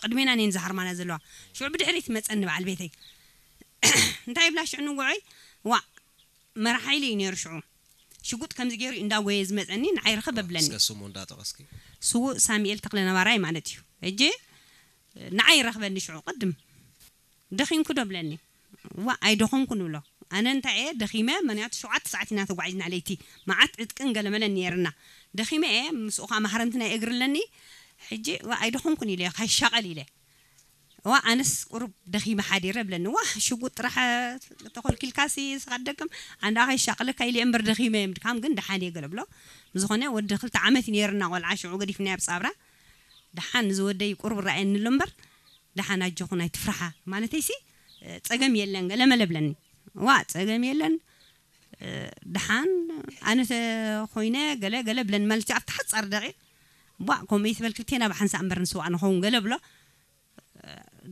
ቅድሜና እኔን ዝሃርማና ዘለዋ። ሽዑ ብድሕሪት መጸኒ በዓል ቤተይ። እንታይ ይብላ ሽዑ ንጉዐይ? ዋ፣ መራሕ ሓይሊ እዩ ነይሩ ሽዑ። ሽጉጥ ከምዚ ገይሩ እንዳጎየ ዝመጸኒ ንዓይ ርኸብ ኣብለኒ። እስከ ስሙ እንዳጠቐስኪ። ስዉእ ሳሙኤል ተኽለ ነባራይ ማለት እዩ። ሕጂ ንዓይ ይረኽበኒ ሽዑ ቅድም። ደኺምኩ ዶ ብለኒ? ዋ፣ ኣይደኸምኩን እብሎ። ኣነ እንታይ እየ ደኺመ፣ ምኽንያቱ ሸውዓተ ሰዓት ኢና ተጓዒዝና ለይቲ። መዓት ዕጥቅን ገለመለን ነይርና። ደኺመ እየ፣ ምስኡ ኸዓ ማህረምቲ ናይ እግሪ ኣለኒ። ሕጂ ዋ፣ ኣይደኸምኩን ኢለ፣ ካይሻቐል ኢለ። ዋ፣ ኣነስ ቁሩብ ደኺመ ሓዲረ ብለኒ። ዋ፣ ሽጉጥ ጥራሕ ተኾልኪልካሲ፣ ንስኻ ደክም፣ ኣንዳ ከይሻቕለካ ኢለ እምበር ደኺመ እየ፣ ምድካም ግን ደሓን እየ ገለ ብሎ። ብዝኾነ ወዲ ክልተ ዓመት እዩ ነይርና ቆልዓ፣ ሽዑ ገዲፍናዮ ኣብ ጻብራ። ደሓን እዚ ወደይ ቁሩብ ረኣየኒ ኣሎ እምበር፣ ደሓን ኣጆኹን ኣይትፍርሓ ማለተይሲ፣ ጸገም የለን ገለ መለ ብለኒ። ዋ፣ ጸገም የለን፣ ደሓን ኣነ ተኾይነ ገለ ገለ ብለኒ፣ ማለት ኣብቲ ሓጻር ደቂቕ፣ ቧእ፣ ከምኡ ይትበል፣ ክልቴና ብሓንሳእ እምበር ንስዋእ ንኸውን ገለ ብሎ።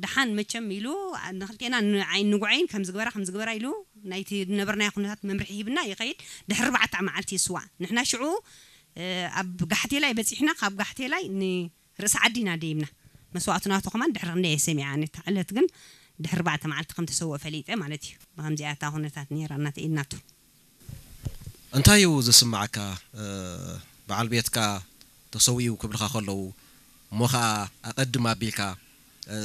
ደሓን መቸም ኢሉ ንክልቴና ንዓይ ንጉዐይን ከም ዝግበራ ከም ዝግበራ ኢሉ ናይቲ ዝነበርናዮ ኩነታት መምርሒ ሂብና ይኸይድ። ድሕሪ ኣርባዕተ መዓልቲ ይስዋእ። ንሕና ሽዑ፣ እ፣ ኣብ ጋሕቴላይ በጺሕና፣ ካብ ጋሕቴላይ ንርእሲ ዓዲ ኢና ደይብና። መስዋእቱ ናቱ ከማን ድሕሪ ክንደይ እየ ሰሚዓ፣ ኣነ እታ ዕለት ግን ድሕሪ ኣርባዕተ መዓልቲ ከም ተሰውአ ፈሊጠ ማለት እዩ። ብኸምዚኣ እታ ኩነታት ነይራ እናተ ኢድናቱ። እንታይ እዩ ዝስምዓካ? እ፣ በዓል ቤትካ ተሰዊኡ ክብልኻ ከለዉ፣ እሞ ኸኣ ኣቐድም ኣቢልካ፣ እ፣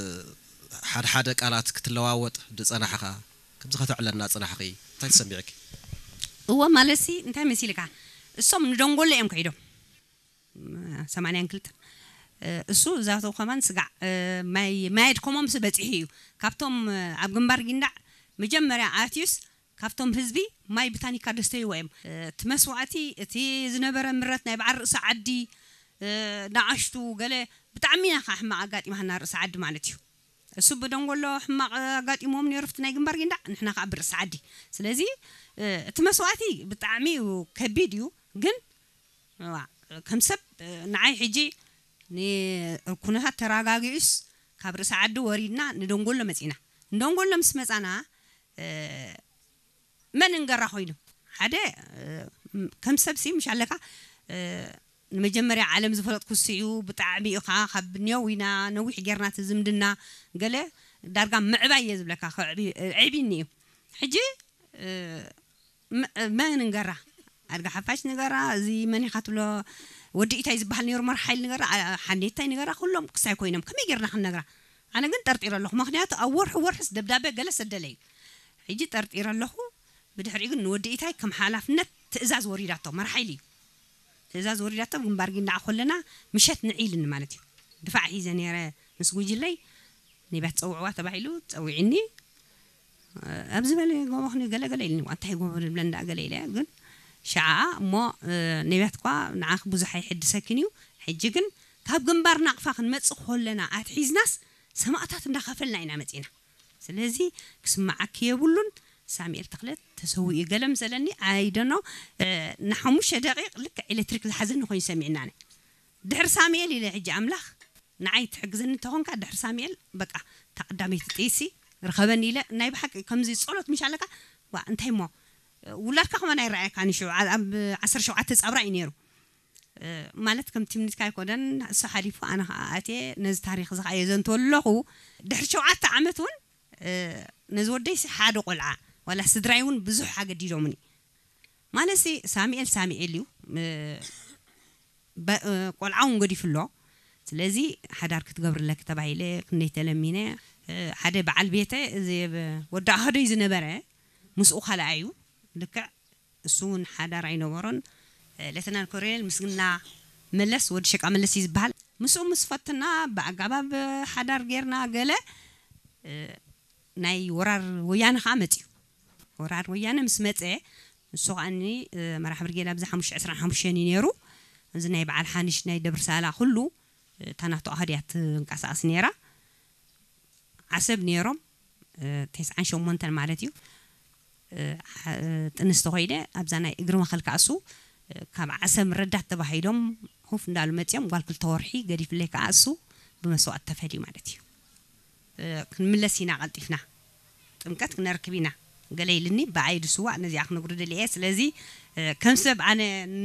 ሓደ ሓደ ቃላት ክትለዋወጥ ዝጸናሕኻ፣ ከምዚ ከተዕለልና ጽናሕኺ፣ እንታይ ተሰሚዕኪ? እወ፣ ማለትሲ እንታይ መሲልካ? እሶም ንደንጎሎ እዮም ከይዶም። ሰማንያን ክልተን። እ፣ እሱ እዛቶ ከማን ስጋዕ፣ እ፣ ማይ፣ ማይ ኣድከሞምስ በጺሑ እዩ። ካብቶም፣ እ፣ ኣብ ግንባር ጊንዳዕ መጀመርያ ኣትዩስ ካብቶም ህዝቢ ማይ ብታኒካ ደስተይዎ እዮም። እ፣ እቲ መስዋእቲ፣ እቲ ዝነበረ ምረት ናይ በዓል ርእሲ ዓዲ፣ እ፣ ንኣሽቱ ገለ ብጣዕሚ ኢና ከዓ ሕማቕ ኣጋጢማና ርእሲ ዓዲ ማለት እዩ። እሱ ብደንጎሎ ሕማቕ ኣጋጢሞም ነይሩ፣ ኣብቲ ናይ ግንባር ጊንዳዕ፣ ንሕና ከዓ ብርእሲ ዓዲ። ስለዚ፣ እ፣ እቲ መስዋእቲ ብጣዕሚ እዩ ከቢድ እዩ፣ ግን ዋ፣ ከም ሰብ፣ እ፣ ንዓይ ሕጂ ንኩነታት ተረጋጊኡስ ካብ ርእሲ ዓዲ ወሪድና ንደንጎሎ መጺና። ንደንጎሎ ምስ መጻና፣ እ፣ መን እንገራ ኮይኑ ሓደ፣ እ፣ ከም ሰብሲ ምሽ ኣለካ፣ እ፣ ንመጀመርያ ዓለም ዝፈለጥኩ እሱ እዩ። ብጣዕሚ እዩ ከዓ ካብ ኔው ኢና ነዊሕ ጌርና እቲ ዝምድና ገለ ዳርጋ ምዕባይ እየ ዝብለካ፣ ከዕቢ-፣ ኣዕቢኒ እዩ። ሕጂ፣ እ፣ መ-፣ መን ንገራ? ኣድጋ ሓፋሽ ንገራ፣ እዚ መን ኢኻ ትብሎ? ወዲ ኢታይ ዝበሃል ነይሩ መርሓ ሓይሊ ንገራ፣ ኣ-፣ ሓኔታይ ንገራ፣ ኩሎም ክሳይ ኮይኖም ከመይ ጌርና ክንነግራ? ኣነ ግን ጠርጢረ ኣለኹ። ምኽንያቱ ኣብ ወርሒ ወርሕስ ደብዳበ ገለ ሰደለ እዩ። ሕጂ ጠርጢረ ኣለኹ። ብድሕሪኡ ግን ንወዲ ኢታይ ከም ሓላፍነት ትእዛዝ ወሪዳቶ፣ መርሓ ሓይሊ እዩ። ትእዛዝ ወሪዳቶ፣ ግንባር ጊንዳዕ ኮለና ምሸት ንዒ ኢልኒ ማለት እዩ። ድፋዕ ሒዘ ነይረ ምስ ጉጅለይ፣ ነቢያት ጸውዕዋ ተባሂሉ ጸዊዕኒ። ኣብዚ በለ ጎቦ ክንዩ ገለ ገለ ኢልኒ፣ ዋ፣ እንታይ ጎቦ ንብለን ደኣ ገለ ኢለ፣ ግን ሸዓ እሞ፣ እ፣ ነቢያት እኳ ንዓኺ ብዙሕ ኣይሕድሰኪን እዩ። ሕጂ ግን ካብ ግንባር ናቕፋ ክንመጽእ ከለና ኣትሒዝናስ ሰማእታት እንዳኸፈልና ኢና መጺና። ስለዚ ክስምዓኪ የብሉን። ሳሙኤል ተኽለ ተሰዊኡ ገለ ምስ በለኒ፣ ኣይ ዶኖ፣ እ፣ ንሓሙሽተ ደቂቕ ልክዕ ኤሌክትሪክ ዝሓዘኒ ኮይኑ ሰሚዕናኒ። ድሕሪ ሳሙኤል ኢለ ሕጂ ኣምላኽ ንዓይ ትሕግዘኒ እንተኾንካ፣ ድሕሪ ሳሙኤል በቃ እታ ቀዳመይቲ ጥይሲ ርኸበኒ ኢለ፣ ናይ ብሓቂ ከምዚ ጸሎት ምሽ ኣለካ፣ ዋ፣ እንታይ እሞ፣ ውላድካ ከማን ኣይረኣየካን እዩ። ሽዑ ኣብ ዓሰርተ ሸውዓተ ጻብራ እዩ ነይሩ። እ፣ ማለት ከም ትምኒትካ ኣይኮነን፣ እሱ ሓሊፉ ኣነ ኸኣ ኣትየ ነዚ ታሪኽ እዚ ኸኣ የዘንትወሉ ኣለኹ። ድሕሪ ሸውዓተ ዓመት እውን፣ እ፣ ነዚ ወደይሲ ሓደ ቆልዓ ዋላ ስድራይ እውን ብዙሕ ኣገዲዶምኒ። ማለትሲ ሳሙኤል ሳሙኤል እዩ። እ፣ በ-፣ እ፣ ቆልዓ እውን ገዲፉ ኣሎ። ስለዚ ሓዳር ክትገብሪ ኣለኪ ተባሂለ ክንደይ ተለሚነ። እ፣ ሓደ በዓል ቤተ፣ እዚ ብ-፣ ወዲ ኣህዶይ ዝነበረ ምስኡ ካልኣ እዩ። ልክዕ እሱ እውን ሓዳር ኣይነበሮን። እ፣ ሌተናል ኮሎኔል ምስግና መለስ፣ ወዲ ሸቃ መለስ እዩ ዝበሃል። ምስኡ ምስ ፈትና ብኣጋባብ ሓዳር ጌርና ገለ፣ እ፣ ናይ ወራር ወያነ ኸዓ መጽዩ። ወራር ወያነ ምስ መጸ፣ ንሱ ኸኣኒ፣ እ፣ መራሕ ብርጌድ ኣብዚ ሓሙሽተ ዕስራን ሓሙሽተን እዩ ነይሩ። እዚ ናይ በዓል ሓንሽ ናይ ደብሪ ሳላ ኩሉ፣ እ፣ እታ ናቱ ኣሃድ እያ ትንቀሳቐስ ነይራ። ዓሰብ ነይሮም፣ እ፣ ተስዓን ሸሞንተን ማለት እዩ። እ፣ ሓ-፣ እ፣ ጥንስቲ ኮይነ ኣብዛ ናይ እግሪ መኸል ከኣ እሱ፣ እ፣ ካብ ዓሰብ ረዳት ተባሂሎም ሁፍ እንዳሉ መጽዮም፣ ጓል ክልተ ወርሒ ገዲፍለይ ከኣ እሱ ብመስዋእቲ ተፈልዩ ማለት እዩ። እ፣ ክንምለስ ኢና ቀልጢፍና፣ ጥምቀት ክነርክብ ኢና ገለ ኢልኒ፣ ብኣይ ድስዋእ ነዚኣ ክነግሩ ደልየ። ስለዚ፣ እ፣ ከም ሰብ ኣነ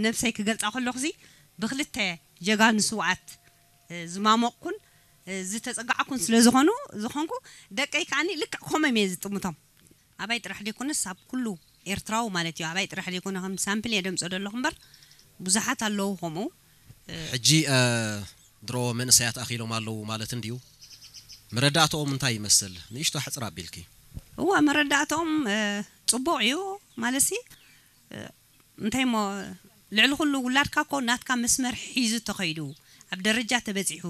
ነብሰይ ክገልጻ ከለኹሲ ብክልተ ጀጋኑ ስውኣት፣ እ፣ ዝማሞቕኩን ዝተጸጋዕኩን ስለ ዝኾኑ ዝኾንኩ ደቀይ ከዓኒ ልክዕ ከምኦም እየ ዝጥምቶም። ኣባይ ጥራሕ ዘይኮነስ ኣብ ኩሉ ኤርትራዊ ማለት እዩ። ኣባይ ጥራሕ ዘይኮነ ከም ሳምፕል እየ ደምጾ ዘለኹ እምበር ብዙሓት ኣለዉ ከምኡ። ሕጂ ድሮ መንእሰያት ኣኺሎም ኣለዉ ማለት እንድዩ። መረዳእተኦም እንታይ ይመስል? ንእሽቶ ሕጽር ኣቢልኪ። እዋ መረዳእተኦም ጽቡቕ እዩ ማለትሲ እንታይ እሞ ልዕሊ ኩሉ ውላድካ እኮ ናትካ መስመር ሒዙ ተኸይዱ ኣብ ደረጃ ተበጺሑ